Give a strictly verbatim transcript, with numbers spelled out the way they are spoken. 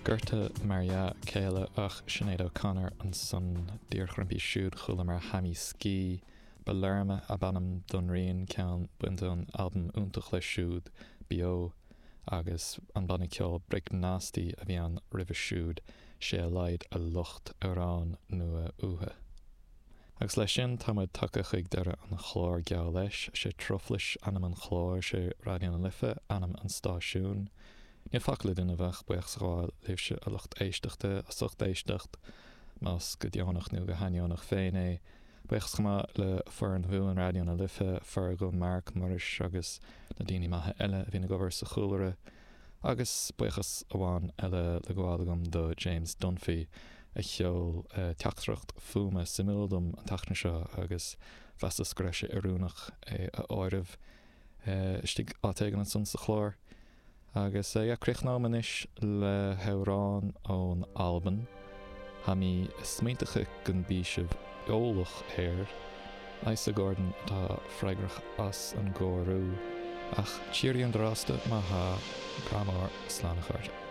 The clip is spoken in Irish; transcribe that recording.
Gorta mar dhea céile ach Sinéad O'Connor ansan díreach roimpi siúd chualamar Hammy Ski Belerma ab ainm don rian ceann bainte ón albam iontach léi siúd Beo agus an banna ceoil Break Nasty a bhí ann roimhe siúd sé a laghad a lucht amhrán nua uathu. Agus leis sin tá muid tagtha chuig deireadh an chláir geall leis, sé Truflais ainm an chláir sé Raidió na Life ainm an stáisiúin. Níl fágtha le déanamh ach buíochas a ghabháil libhse a lucht éisteachta as ucht éisteacht, más go deonach nó go hainneonach féin é. Buíochas chomh maith le foireann bhuan Raidió na Life, Fergal, Mark, Muiris agus na daoine maithe eile a bhíonn ag obair sa chúlra. Agus buíochas amháin eile le gabháil agam do James Dunphy a sheol teachtaireacht fuaime suimiúil dom an tseachtain seo agus mheasas go raibh sé oiriúnach é a áireamh istigh áit éigin ansan sa chlár. Agus yeah, críochnóim anois le hamhrán ón Albain. Tá mé ag smaointeach go mbí sibh eolach air. Isa Gordon atá freagrach as an gcóiriú ach tírí an drásta má tá grá mór slán a chairde.